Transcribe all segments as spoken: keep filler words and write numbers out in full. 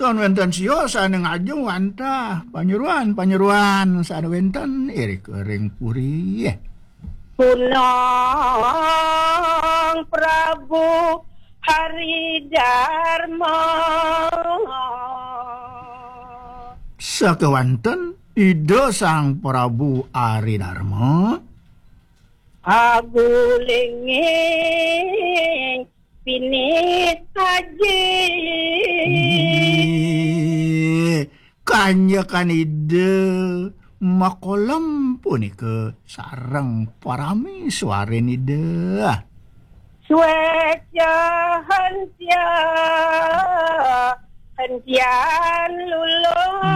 Tan wénten sia sané ngajeng wantah panyeroan-panyeroan sané wénten irika ring puri. Kunang Prabu Hari Darma. Sakéwanten Ida Sang Prabu Ari Darma. Agulinging pinih aji. Inggih, kanjekan Ida makolem punika sareng parami suarin Ida. Suéca hentia, hentian lulus.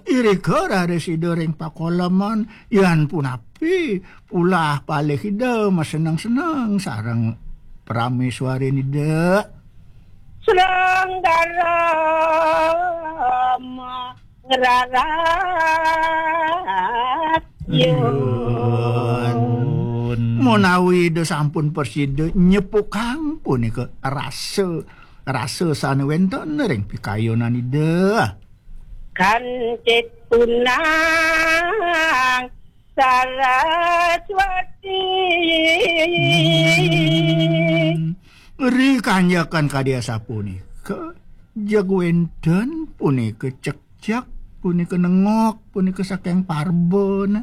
Irika raris Ida ring pakoleman, yan punapi ulah palih Ida maseneng-seneng sareng parami suarin Ida. Srenggaram ngrarat yun. Menawi Ida sampun prasida nyepukang punika rasa, rasa sané wénten ring pikayunan Ida. Kancit punang Saraswati. Hmm. Ri kanjekan kadi asapunika, jeg wénten punika cekcek, punika nengok, punika saking parban.